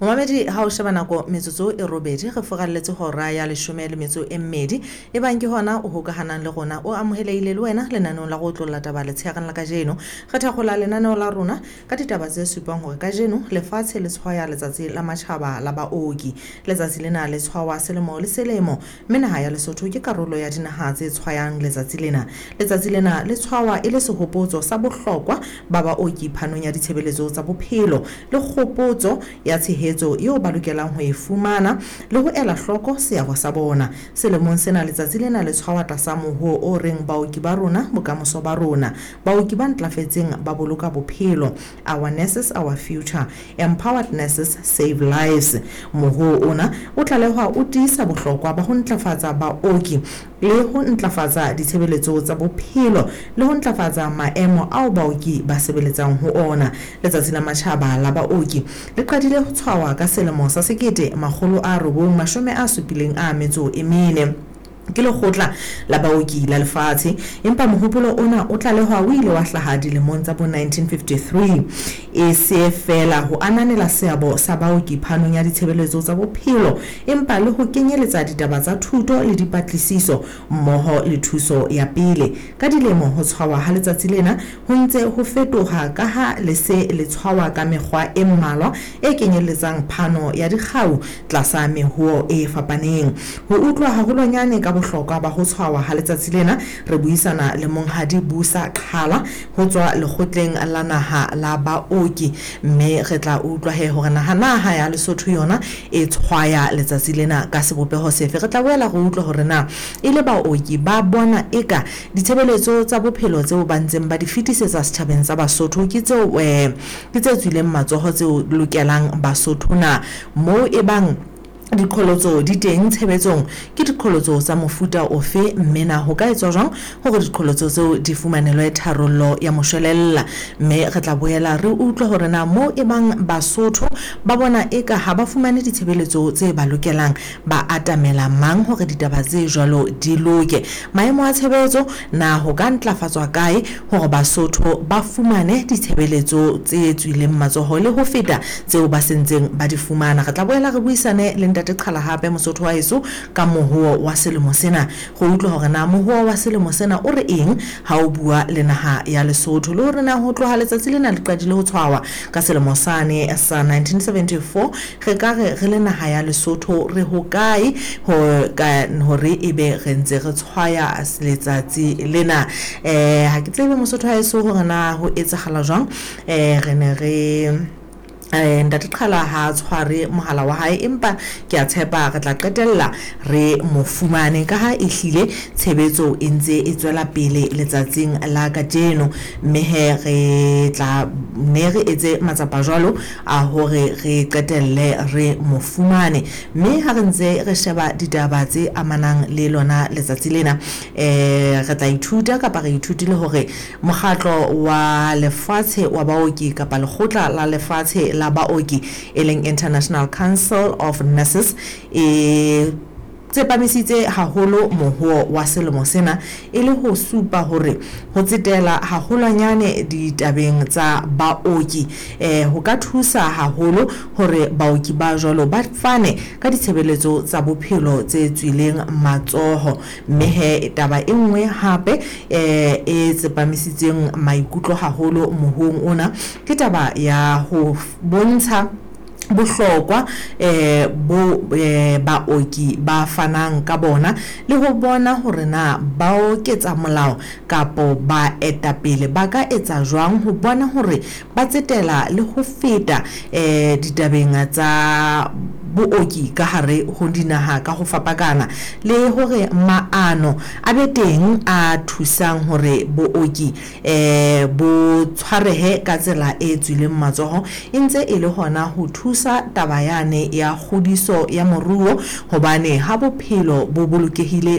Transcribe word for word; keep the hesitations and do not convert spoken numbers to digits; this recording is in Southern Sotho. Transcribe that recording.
Momamedi, ha o sheba nako metsotso e robedi re furalletse hora ya leshome le metso e mmedi. E bang ke hona o hokahanang le rona, o amohelehile le wena lenaneong la go otlolla taba letsheareng la kajeno. Re thakgola lenaneo la rona ka ditaba tse supang hore kajeno lefatshe le tshwaya letsatsi la matjhaba la baoki. Letsatsi lena le tshwawa selemo le selemo, mme naha ya Lesotho ke karolo ya dinaha tse tshwayang letsatsi lena. Letsatsi lena le tshwawa e le sehopotso sa bohlokwa ba baoki phanong ya ditshebeletso tsa bophelo le kgopotso ya tshehetso eo ba lokelang ho e fumana le ho ela hloko seabo sa bona. Selemong sena letsatsi lena le tshwawa tlasa mohoo o reng baoki ba rona bokamoso ba rona, baoki ba ntlafetseng ba boloka bophelo, our nurses our future, empowered nurses save lives. Mohoo ona o tlalehwa o tiisa bohlokwa ba ho ntlafatsa baoki le ho ntlafatsa ditshebeletso tsa bophelo le ho ntlafatsa maemo ao baoki ba sebeletsang ho ona. Letsatsi la matjhaba la baoki le qadile ho tshwawa ka selemo sa sekete makgolo a robong mashome a supileng a metso e mene ke lekgotla la baoki la lefatshe, empa mohopolo ona o tlalehwa o ile wa hlaha dilemong tsa bo nineteen fifty-three e se fela ho ananela seabo sa baoki phanong ya ditshebeletso tsa bophelo, empa le ho kenyeletsa ditaba tsa thuto le dipatlisiso mmoho le thuso ya pele. Ka dilemo ho tshwawa ha letsatsi lena ho ntse ho fetoha ka ha le se le tshwawa ka mekgwa e mmalwa e kenyelletsang phano ya dikgau tlasa mehoo e fapaneng. Ho utlwa haholwanyane ka bohlokwa ba ho tshwawa ha letsatsi lena, re buisana le monghadi Busa Qhala ho tswa lekgotleng la naha la baoki, mme re tla utlwa he hore naha naha ya Lesotho yona e tshwaya letsatsi lena ka sebopeho sefe. Re tla boela re utlwa hore na e le baoki ba bona eka ditshebeletso tsa bophelo tseo ba ntseng ba di fetisetsa setjhabeng sa Basotho ke tseo eh, ke tse tswileng matsoho tseo lokelang Basotho na, moo e bang diqholotso di teng tshebetsong ke diqholotso tsa mofuta ofe, mme na ho ka etswa jwang hore diqholotso tseo di fumanelwe tharollo ya moshwelella. Mme re tla boela re utlwe hore na moo e bang Basotho ba bona eka ha ba fumane ditshebeletso tse ba lokelang, ba atamela mang hore ditaba tse jwalo di loke. Maemo a tshebetso na ho ka ntlafatswa kae hore Basotho ba fumane ditshebeletso tse tswileng matsoho le ho feta tseo ba sentseng ba di fumana. Re tla boela re buisane le Ntate Qhala hape Mosotho wa heso ka mohoo wa selemo sena, go utlwa hore na mohoo wa selemo sena o re eng ha o bua le naha ya Lesotho, le hore na ho tloha letsatsi lena le qadile ho tshwawa ka selemo sane sa nineteen seventy-four re ka re re le naha ya Lesotho re hokae ho ka hore ebe re ntse re tshwaya letsatsi lena. Eh ha ke tsebe Mosotho wa heso hore na ho etsahala jwang. Eh re ne re Eh, Ntate Qhala ha tshware mohala wa hae, empa ke a tshepa re tla qetella re mo fumane ka ha e hlile tshebetso e ntse e tswela pele letsatsing la kajeno. Mme he re tla ne re etse matsapa jwalo a hore re qetelle re mo fumane. Mme ha re ntse re sheba ditaba tse amanang le lona letsatsi lena, eh re tla ithuta kapa re ithutile hore mokgatlo wa lefatshe wa baoki kapa lekgotla la lefatshe la baoki e leng International Council of Nurses e tsepamisitse haholo mohoo wa selemo sena e le ho supa hore ho tsetela haholwanyane ditabeng tsa baoki eh ho ka thusa haholo hore baoki ba jwalo ba fane ka ditshebeletso tsa bophelo tse tswileng matsoho. Mme he taba e nngwe hape eh e tsepamisitseng maikutlo haholo mohoong ona ke taba ya ho bontsha bohlokwa eh bo eh, baoki ba fanang ka bona le ho bona hore na ba oketsa molao kapo ba etapele ba ka etsa jwang ho bona hore ba tsetela le ho feta eh ditabeng tsa booki ka hare ho dinaha ka ho fapakana, le hore maano a be teng a thusang hore booki eh bo tshwarehe ka tsela e tswileng matsoho, e ntse e le hona ho thusa taba yane ya kgodiso ya moruo, hobane ha bophelo bo bolokehile